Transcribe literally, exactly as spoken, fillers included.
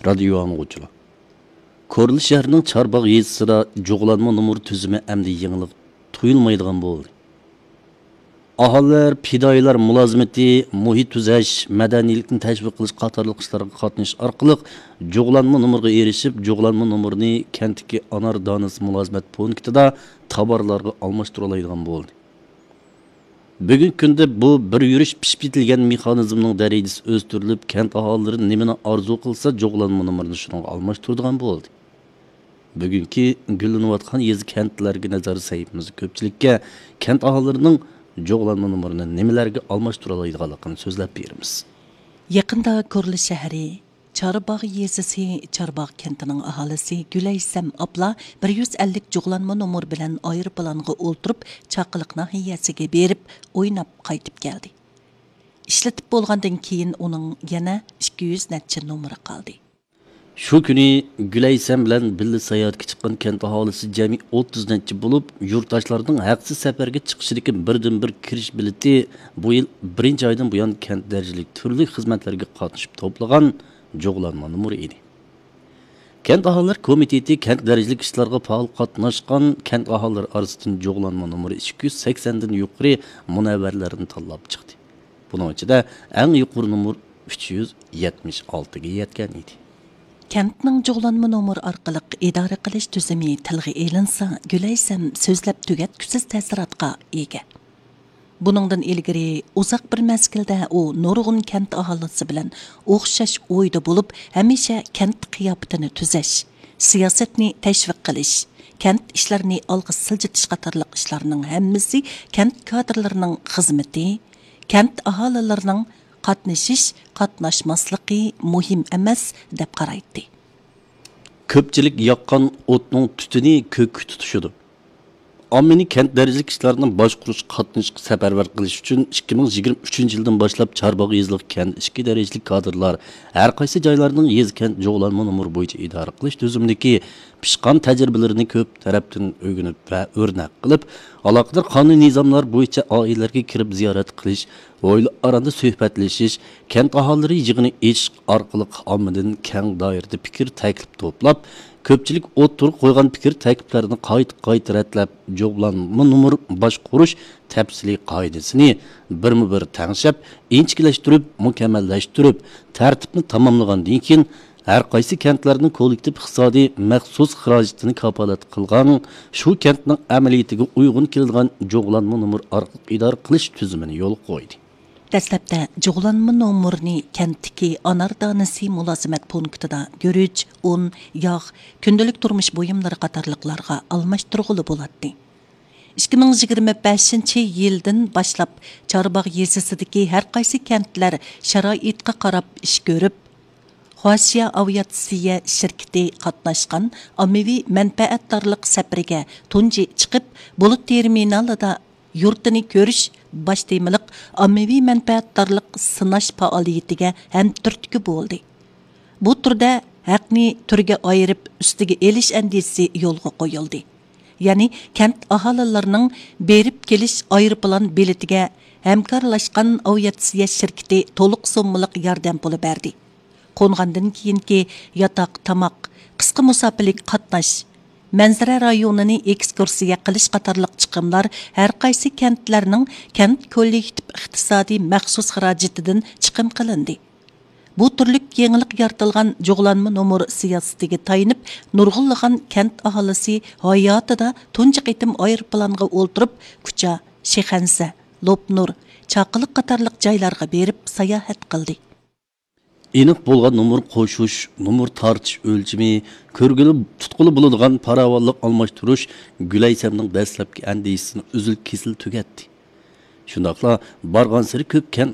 رادىيو ئاڭلىغۇچىلار! كورلا شەھىرىنىڭ چارباغ يېزىسىدا جۇغلانما نومۇر تۈزۈمى ئەمدى يېڭىلىق تۇيۇلمايدىغان بولدى. ئاھالىلەر، پىدائىيلار مۇلازىمىتى، مۇھىت تۈزەش، مەدەنىيلىكنى تەشۋىق قىلىش قاتارلىق ئىشلارغا قاتنىشىش ئارقىلىق جۇغلانما نومۇرغا ئېرىشىپ، جۇغلانما نومۇرنى كەنتتىكى ئانار دانىسى مۇلازىمەت پونكىتىدا تاۋارلارغا ئالماشتۇرالايدىغان بولدى. بۈگۈنكى كۈندە بۇ بىر يۈرۈش پىشىپ يېتىلگەن مېخانىزمنىڭ دەرىجىسى ئۆستۈرۈلۈپ، كەنت ئاھالىلىرى نېمىنى ئارزۇ قىلسا، جۇغلانما نومۇرىنى شۇنىڭغا ئالماشتۇرىدىغان بولدى. بۈگۈنكى گۈللىنىۋاتقان يېزا، كەنتلەرگە نەزەر سەھىپىمىزدە كۆپچىلىككە كەنت ئاھالىلىرىنىڭ جۇغلانما نومۇرىنى نېمىلەرگە ئالماشتۇرالايدىغانلىقىنى سۆزلەپ بېرىمىز. يېقىندا كورلا شەھىرى چارباغ يېزىسى چارباغ كەنتىنىڭ ئاھالىسى گۈلەيسەم ئابلا بىر يۈز ئەللىك جۇغلانما نومۇر بىلەن ئايروپىلانغا ئولتۇرۇپ، چاقىلىق ناھىيەسىگە بېرىپ، ئويناپ قايتىپ كەلدى. ئىشلىتىپ بولغاندىن كېيىن ئۇنىڭ يەنە ئىككى يۈز نەچچە نومۇرى قالدى. شۇ كۈنى گۈلەيسەم بىلەن بىللە ساياھەتكە چىققان كەنت ئاھالىسى جەمئىي ئوتتۇز نەچچە بولۇپ، يۇرتداشلارنىڭ ھەقسىز سەپەرگە چىقىشىدىكى بىردىنبىر كىرىش بېلىتى بۇ يىل بىرىنچى ئايدىن بۇيان كەنت دەرىجىلىك تۈرلۈك خىزمەتلەرگە قاتنىشىپ توپلىغان جۇغلانما نومۇرى ئىدى. كەنت ئاھالىلەر كومىتېتى كەنت دەرىجىلىك ئىشلارغا پائال قاتناشقان كەنت ئاھالىلىرى ئارىسىدىن جۇغلانما نومۇرى ئىككى يۈز سەكسەندىن يۇقىرى مۇنەۋۋەرلەرنى تاللاپ چىقتى. بۇنىڭ ئىچىدە ئەڭ يۇقىرى نومۇر ئۈچ يۈز يەتمىش ئالتىگە يەتكەن ئىدى. كەنتنىڭ جۇغلانما نومۇر ئارقىلىق ئىدارە قىلىش تۈزۈمى تىلغا ئېلىنسا، گۈلەيسەم سۆزلەپ تۈگەتكۈسىز تەسىراتقا ئىگە. بۇنىڭدىن ئىلگىرى ئۇزاق بىر مەزگىلدە ئۇ نۇرغۇن كەنت ئاھالىسى بىلەن ئوخشاش ئويدا بولۇپ، ھەمىشە كەنت قىياپىتىنى تۈزەش، سىياسەتنى تەشۋىق قىلىش، كەنت ئىشلىرىنى ئالغا سىلجىتىش قاتارلىق ئىشلارنىڭ ھەممىسى كەنت كادىرلىرىنىڭ خىزمىتى، كەنت ئاھالىلىرىنىڭ قاتنىشىش، قاتناشماسلىقى مۇھىم ئەمەس دەپ قارايتتى. كۆپچىلىك ياققان ئوتنىڭ تۈتۈنى كۆككە تۇتىشىدۇ. ئاممىنى كەنت دەرىجىلىك ئىشلارنى باشقۇرۇشقا قاتنىشىشقا سەپەرۋەر قىلىش ئۈچۈن ئىككى مىڭ يىگىرمە ئۈچىنچى يىلدىن باشلاپ چارباغ يېزىلىق كەنت ئىچكى دەرىجىلىك كادىرلار ھەر قايسى جايلارنىڭ يېزا، كەنت جۇغلانما نومۇر بويىچە ئىدارە قىلىش تۈزۈمىدىكى پىشقان تەجرىبىلىرىنى كۆپ تەرەپتىن ئۆگىنىپ ۋە ئۆرنەك قىلىپ، ئالاقىدار قانۇن نىزاملار بويىچە ئائىلىلەرگە كىرىپ زىيارەت قىلىش، ھويلا ئاراندا سۆھبەتلىشىش، كەنت ئاھالىلىرى يىغىنى ئېچىش ئارقىلىق ئاممىدىن كەڭ دائىرىدە پىكىر تەكلىپ توپلاپ، كۆپچىلىك ئوتتۇرىغا قويغان پىكىر تەكلىپلەرنى قايتا قايتا رەتلەپ، جۇغلانما نومۇر باشقۇرۇش تەپسىلىي قائىدىسىنى بىرمۇ بىر تەڭشەپ، ئىنچىكىلەشتۈرۈپ، مۇكەممەللەشتۈرۈپ، تەرتىپنى تاماملىغاندىن كېيىن، ھەر قايسى كەنتلەرنىڭ كوللېكتىپ ئىقتىسادىي مەخسۇس خىراجىتىنى كاپالەت قىلغان، شۇ كەنتنىڭ ئەمەلىيىتىگە ئۇيغۇن كېلىدىغان جۇغلانما نومۇر ئارقىلىق ئىدارە قىلىش تۈزۈمىنى يولغا قويدى. دەسلەپتە جۇغلانما نومۇرنى كەنتتىكى ئانار دانىسى مۇلازىمەت پونكىتىدا گۈرۈچ، ئۇن، ياغ، كۈندىلىك تۇرمۇش بۇيۇملىرى قاتارلىقلارغا ئالماشتۇرغىلى بولاتتى. ئىككى مىڭ يىگىرمە بەشىنچى يىلدىن باشلاپ چارباغ يېزىسىدىكى ھەر قايسى كەنتلەر شارائىتقا قاراپ ئىش كۆرۈپ، خۇاشيا ئاۋىئاتسىيە شىركىتى قاتناشقان ئاممىۋى مەنپەئەتدارلىق سەپىرىگە تۇنجى چىقىپ، بۇلۇت تېرمىنالىدا يۇرتىنى كۆرۈش باش تېمىلىق ئاممىۋى مەنپەئەتدارلىق سىناش پائالىيىتىگە ھەمتۈرتكە بولدى. بۇ تۈردە ھەقنى تۈرگە ئايرىپ ئۈستىگە ئېلىش ئەندىزىسى يولغا قويۇلدى. يەنى كەنت ئاھالىلىرىنىڭ بېرىپ كېلىش ئايروپىلان بېلىتىگە ھەمكارلاشقان ئاۋىئاتسىيە شىركىتى تولۇق سوممىلىق ياردەم پۇلى بەردى. قونغاندىن كېيىنكى ياتاق، تاماق، قىسقا مۇساپىلىك قاتناش، مەنزىرە رايونىنى ئېكسكۇرسىيە قىلىش قاتارلىق چىقىملار ھەر قايسى كەنتلەرنىڭ كەنت كوللېكتىپ ئىقتىسادىي مەخسۇس خىراجىتىدىن چىقىم قىلىندى. بۇ تۈرلۈك يېڭىلىق يارىتىلغان جۇغلانما نومۇر سىياسىتىگە تايىنىپ، نۇرغۇنلىغان كەنت ئاھالىسى ھاياتىدا تۇنجى قېتىم ئايروپىلانغا ئولتۇرۇپ، كۇچا، شىخەنزە، لوپنۇر، چاقىلىق قاتارلىق جايلارغا بېرىپ ساياھەت قىلدى. ئېنىق بولغان نومۇر قوشۇش، نومۇر تارتىش ئۆلچىمى، كۆرگىلى، تۇتقىلى بولىدىغان پاراۋانلىق ئالماشتۇرۇش گۈلەيسەمنىڭ دەسلەپكى ئەندىزىسىنى ئۈزۈل-كېسىل تۈگەتتى. شۇنداقلا بارغانسېرى كۆپ كەنت